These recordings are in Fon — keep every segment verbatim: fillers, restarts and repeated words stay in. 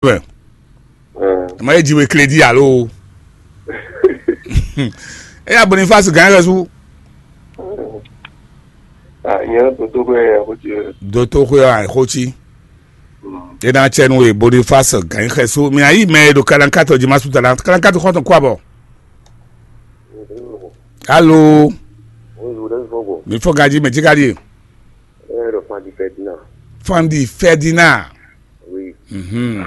Bɛ. Ɛ, ma ye ji we crédit alo. E ya Boniface gan yɛ su. Ah, nyɛ toto ko ya ko ti. Doto ko ya ko ti. E na chɛ nu e Boniface gan yɛ su. Mi ayi mɛ do kalankato ji ma su tala. Kalankato kɔntɔn kwa bɔ. Allô. Bonjour, Daniel Fogo. Mi fɔ gaji mɛ jikadi. Eh, le Fandi Ferdinand. Fandi Ferdinand. Oui. Mhm.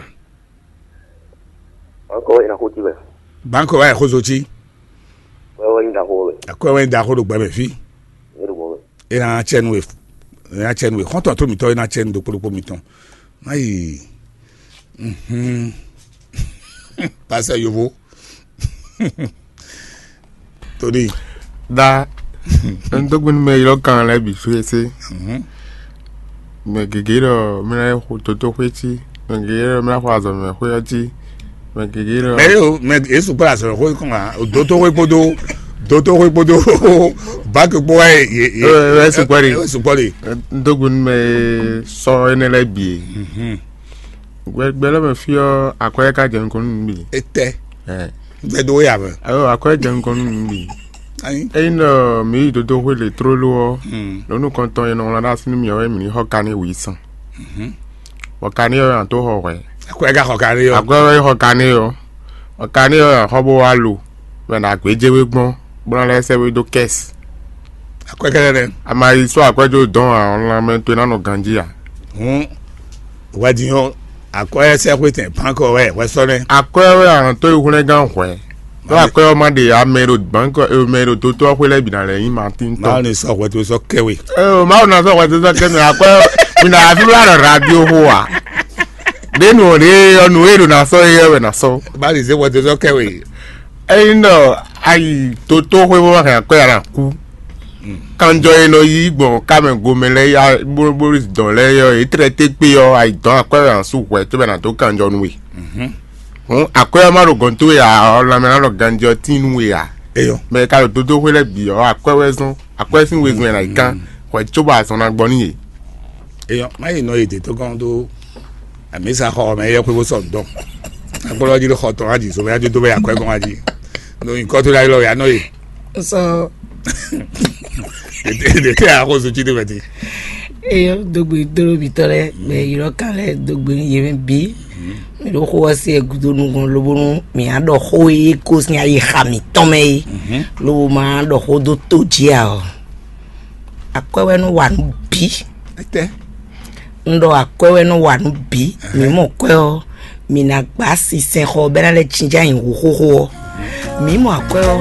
Encore une fois, tu veux. Banko wa ko zo ti. Ouais, ouais, une fois, ouais. Akɔ wa da ko do gbɛ fi. Une fois, ouais. E na chɛ nu e. E na chɛ nu e. Kɔntɔn to mi tɔ e na chɛ nu do kpolokpo mi tɔn. Ayi. Mhm. Pasteur Yovo. Tony. Da. N dó gbénu mɛ ylɔ́ kan lɛ́ɛ bǐ fésé. Mhm. Mɛ gěgé ɖɔ mɛ lɛ́ɛ xo toto xwé cí. Mɛ gěgé ɖɔ mɛ lɛ́ɛ xo azɔ̌mɛ xwé ɔ́ cí. Mɛ gěgé ɖɔ. Mɛ yóò mɛ yéṣu kpɔ́ azɔ̌mɛ xwé kɔn wá. Dotóxwé kpódó dotóxwé kpódó bákì kpó wá yé yé. Ɛ, ɛ, sukpɔ́ ɖe. Ɛ, sukpɔ́ ɖe. N dó gbénu mɛ sɔ énɛ́ lɛ́ɛ bǐ. Mhm. Gbɛ gbɛ lɛ́ɛ mɛ fí ɔ́, akwɛ́ ka jɛ nukɔn nú nǔ bǐ. Etɛ. Ɛ. Gbɛdó ya mɛ. Ayo, akwɛ́ jɛ nukɔn nú nǔ bǐ. Ayi. Ényí ɖɔ mǐ yi dodoxwé le tlóló ɔ́, Hmm. lǒ nukɔntɔn e nɔ wlán ɖó así nú mì ɔ́ wɛ mǐ ní xɔ kaní wǐ sɔn. Mhm. Bɔ kaní ɔ́ wɛ a nǎ tó xɔ hwɛ̌. Akwɛ́ ka xɔ kaní ɔ́. Akwɛ́ wɛ xɔ kaní ɔ́. Bɔ kaní ɔ́ wɛ a xɔ bó wá lo, bɔ è nǎ gbéjé we gbɔn, bó ná lɛ́ sɛ́ we dó kɛ́si. Akwɛ́ kɛ́ɖɛ́ nɛ́. A ma yi sɔ́ akwɛ́ jó dɔn ǎ, ɔ́, lanmɛ towe ná nɔ ganjí ǎ. Hǔn hwɛdín ɔ́, akwɛ́ sɛ́xwé tɛn bánkɔ wɛ hwɛ sɔ́ nɛ́. Akwɛ́ wɛ a nǎ tó yi hwlɛ́ngán hwɛ̌. Ɖó akwɛ́ ɔ́ má ɖe ǎ, mɛ e ɖo bánkɔ e mɛ e ɖo dotó ɔ́ xwé lɛ́ɛ bǐ ná lɛ́ nyí Matín tɔn. Mawu ní sɔ́ hwɛ tó sɔ́ kɛ we. Ee, Mawu ná sɔ́ hwɛ tó sɔ́ kɛ mɛ akwɛ́ mi ná wá fí wá ɖɔ radio xó a? Ɖě nǔ ɔ́ ɖě ɔ́ nǔ e ɖo ná sɔ́ é wɛ ná sɔ́. Mawu ní zé hwɛ tó sɔ́ kɛ we. Ényí ɖɔ a yi dotó xwé bó ma hɛn akwɛ́ a nǎ kú. Kanjɔ e nɔ yí gbɔn kámɛ gomɛ lɛ́ɛ ya bó bó dɔn lɛ́ɛ ɔ́, é tlɛ té kpé ɔ́, a yi dɔn akwɛ́ wɛ a nǎ sú hwɛ cóbɔ è nǎ dó kanjɔ nú we. Hǔn akwɛ́ ɔ́ má ɖo gɔ̌n towe ǎ, ɔ́, lanmɛ ná ɖɔ ganjí ɔ́ tíin nú we ǎ. Eyɔ. Mɛ e ka ɖo dodóxwé lɛ́ɛ bǐ ɔ́, akwɛ́ wɛ zɔ́n, akwɛ́ sín wezun wɛ ná yi kán hwɛ cóbɔ azɔn ná gbɔ n'i yě. Eyɔ, má yi nɔ yi dě tó gɔ́n dó amǐsa xɔ mɛ yɛ xwé bó sɔ nǔ dɔn. Agbɔ́lɔ́ jí ló xɔ tɔn wá jǐ, so mɛ yá dó dó bɛ akwɛ́ gɔ́n wá jí. Ɖo nyǐkɔ tó ɖ'ayǐ lɔ wɛ a nɔ yi. Sɔ. Ɖe tɛ a xo zotsi ɖe mɛ ti. Eyɔ dogbe dolo bitɔ lɛ mɛ ylɔ kan lɛ dogbe nu yɛ mɛ bi. Mi ɖo xo ɔ́ se gúdo nukɔn lobo nu mi á ɖɔ xó e ko sin ayi xa mǐtɔn mɛ é. Lobo ma ɖɔ xó dó to jí a ɔ. Akwɛ́ wɛ nɔ wa nǔ bǐ. Etɛ. Un ɖɔ akwɛ́ wɛ nɔ wa nǔ bǐ. Mǐ mɔ kwɛ́ ɔ́, mǐ ná gbá sinsɛnxɔ bɔ é ná lɛ́ jínjɔ́n ayǐ hú xóxó ɔ́. Mǐ mɔ akwɛ́ ɔ́.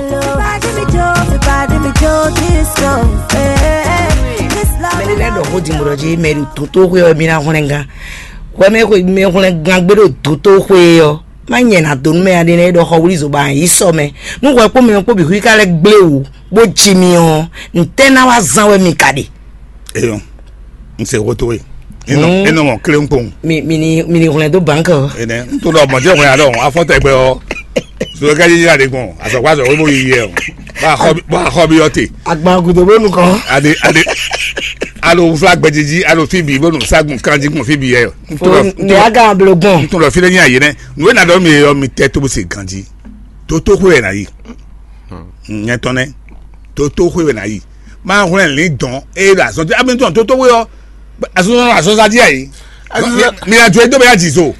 Mɛ ɖé lɛ́ɛ ɖɔ xó din bó ɖɔ jí mɛ ɖo dǒtóxwé ɔ́ mì ná hwlɛ́ngán. Hwɛ mɛ xwe mɛ hwlɛ́ngán gbé ɖo dǒtóxwé ɔ́, má nyɛ ná dó nú mɛ aɖé nɛ́ ɖɔ xɔ wlí zobá yí sɔ mɛ. Nú hwɛ kpó mɛ kpó bǐ xwí ka lɛ́ gblé wǔ, bó ji mi ɔ́, ntɛ́ ná wá zán wɛ mi ka ɖe? Eyɔn, n se xó towe. E nɔ e nɔ mɔ klénkpɔn. Mi mi ni mi ni hwlɛn dó banque ɔ. Ene n to ɖɔ mɔdé hwlɛn alɔ afɔ tɛgbɛ ɔ. So ka yi ya de gbɔn asɔkpa sɔ webo yi yɛ o. Ba xɔ ba xɔ bi ɔte. Agban gudo bó nukɔn. Ade ade. Alo fla gbɛdidi alo fi bi bó nu sagun kanji kun fi bi yɛ. N to ɖɔ n to ɖɔ aga blo gbɔn. N to ɖɔ fi ɖe nyi ayi nɛ. Nu ena ɖɔ mi yɔ mi tɛ to bo se ganji. Toto xwe yɛ na yi. Nyɛ tɔn nɛ. Toto xwe yɛ na yi. Ma hwlɛn lin dɔn eye ɖo azɔn ti ami tɔn toto xwe yɔ. Azɔn azɔn sa di ayi. Mi na jo edo bɛ ya ji zo.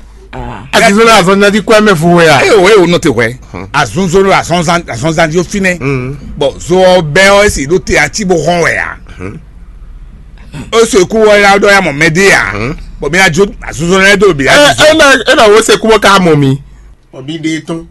Azizolo azɔnzanji kɔ ɛmɛ fo wɛ a? Eye o eye o nɔ te hwɛ. Azunzolo azɔnzan azɔnzanji o finɛ. Bɔn zo ɔ bɛ ɔ esi ɖo te ati bo hɔn wɛ a? O so eku wɔ ya ɖɔ ya mɔ mɛ de a? Bɔn mi na jo azunzolo yɛ do bi ya. Ena ena wo se kubɔ ka mɔ mi. Ɔ mi de tɔn.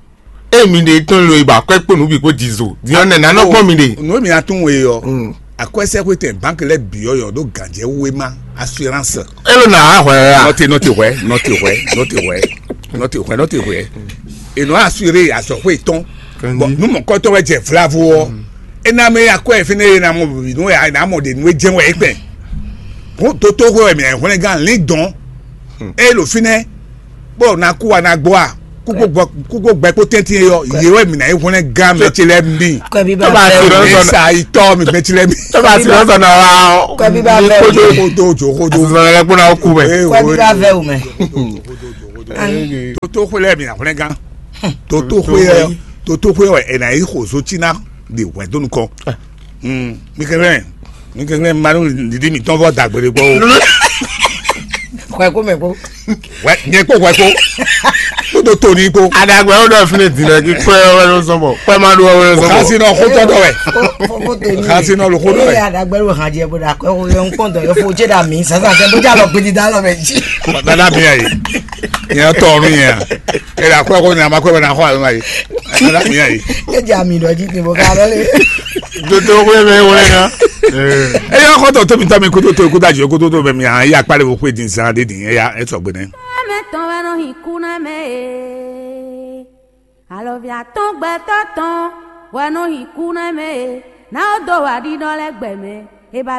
E mi de tɔn lo iba kɔ ekpo nu bi ko jizo. Diɔ nɛ nanɔ kpɔn mi de. Nu mi na tún we yɔ. Akwɛsɛxwetɛn banki lɛ biyɔ yɔ ɖo ganjɛ wema assurance. Elo na hwɛ ya. Nɔte nɔte hwɛ nɔte hwɛ nɔte hwɛ nɔte hwɛ nɔte hwɛ. Enɔ assuré azɔxwe tɔn. Bɔn nu mɔkɔtɔ wɛ jɛ vlavo ɔ. Ena mɛ akwɛ fɛnɛ ena mɔ nu ya ena mɔ de nu jɛn wɛ ekpɛ. Ko toto hwɛ wɛ mi hwlɛngán lin dɔn. Eye ɖo fínɛ́ bó ná kú wa ná gbɔ a? Kúkú gbɔ kúkú gbɛ kpó tɛ́ntin e yɔ yě wɛ mǐ ná yi hwlɛ́n gán mɛ ce lɛ́ɛ mì. Kɔbi bá Tɔba bɛ ti o. Lɔ Mí sɔnà. Sa itɔ mi mɛ ce lɛ́ɛ mì. Tɔba ti lɔ sɔnà wa o. Kɔbi bá bɛ o. Kodo Kodo jo kodo. Azɔlɔ lɛ kpɔnɔ awo ku mɛ. Kɔbi bá bɛ o mɛ. Toto xwe lɛ́ɛ mi na hwlɛngán. Toto xwe ɛ toto xwe ɛ ɛ na yi xo zo tina de hwɛ do nukɔ. Mi kɛnɛ mi kɛnɛ manu didi mi tɔn vɔ dagbe de gbɔ o. Xɔ ɛ ko mɛ ko. Wɛ nyɛ kpo hwɛ ko. Toto to ni ko. Adagbɛ wo ɖɔ fine din ɖe kí kpɛ wɛ ló sɔn bɔ kpɛ ma ɖo wɛ ló sɔn bɔ. Kasi nɔ xotɔ dɔ wɛ. Kasi nɔ lo xo dɔ Ee wɛ. Adagbɛ wo hàn jẹ bó da kɔ ẹ kó yẹ ń pọ́n dọ̀ yẹ fo jẹ́ dà mí sásà tẹ bó jà lọ gbèdì dá lọ bẹ̀ jí. Dada mi ayi. Nyɛ tɔ nu yɛ. E la kɔ ko na ma kɔ bɛ na xɔ ayi ma yi. Dada mi ayi. Ẹ jẹ́ àmì ìdọ̀jì ni mo ká lọ lé. Toto xwe mɛ wɛ na. Eye kɔtɔ tóbi tɔ mi koto to koto ajɔ koto to bɛ mi ayi akpali wo xwe din zan de din eya e sɔgbe nɛ. Mɛ tɔn wɛ nɔ hin kú nɛ mɛ e. Alɔvia tɔn gbɛtɔ tɔn wɛ nɔ hin kú nɛ mɛ e. N'a ó dó wà ɖiɖɔ lɛ́ gbɛ mɛ. E ba